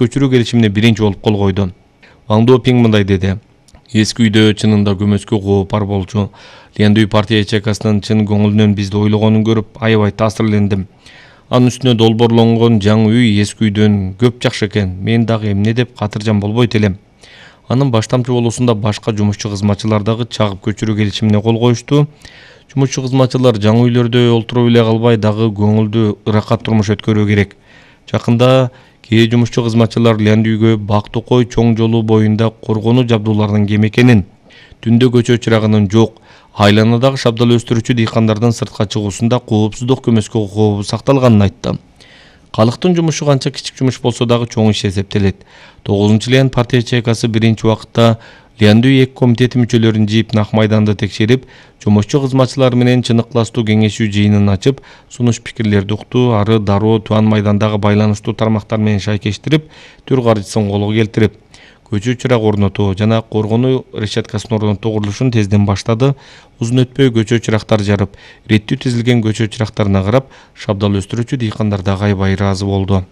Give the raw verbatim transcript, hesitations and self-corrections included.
көчүрүү келишимине биринчи болуп кол койду. Ван Дуопинг мындай деди: Эски үйдө чынында көмөскө кооп бар болчу. Лиандүй партия ячейкасынын чын көңүлүнөн бизди ойлогонун көрүп аябай таасирлендим. Анын үстүнө долбоорлонгон жаңы үй эски үйдөн көп жакшы экен. Мен дагы эмне деп катыржан болбойт элем. Анын баштамчы болуусунда башка жумушчу кызматчылар дагы чагып көчүрүү келишимине кол коюшту. Жумушчу кызматчылар жаңы үйлөрдө олтуруп эле калбай дагы көңүлдүү ырахат турмуш өткөрүү керек. Жакында кээ жумушчу кызматчылар Лиандүйгө Бак Токой чоң жолу боюнда коргонуу жабдууларынын кем экенин, түндө көчө чырагынын жок, айланадагы шабдал өстүрүүчү дыйкандардын сыртка чыгуусунда коопсуздук көмөскө кообу сакталганын айтты. Калктын жумушу канча кичик жумуш болсо дагы чоң иш эсептелет. тогузунчу Лиан партия ячейкасы биринчи убакытта Лиандүй эки комитети мүчөлөрүн жийип Нак майданды текшерип, жумушчу кызматчылар менен чыныктылаштуу кеңешүү жыйынын ачып, сунуш пикирлерди укту, ары дароо Туан майдандагы байланыштуу тармактар менен шайкештирип, түр каржысын колго келтирип, көчө чырак орнотуу жана коргонуу решеткасын орнотуу курулушун тезден баштады. Узун өтпөй көчө чырактар жарып, реттүү тизилген көчө чырактарына карап, шабдал өстүрүүчү дыйкандар дагы аябай ыраазы болду.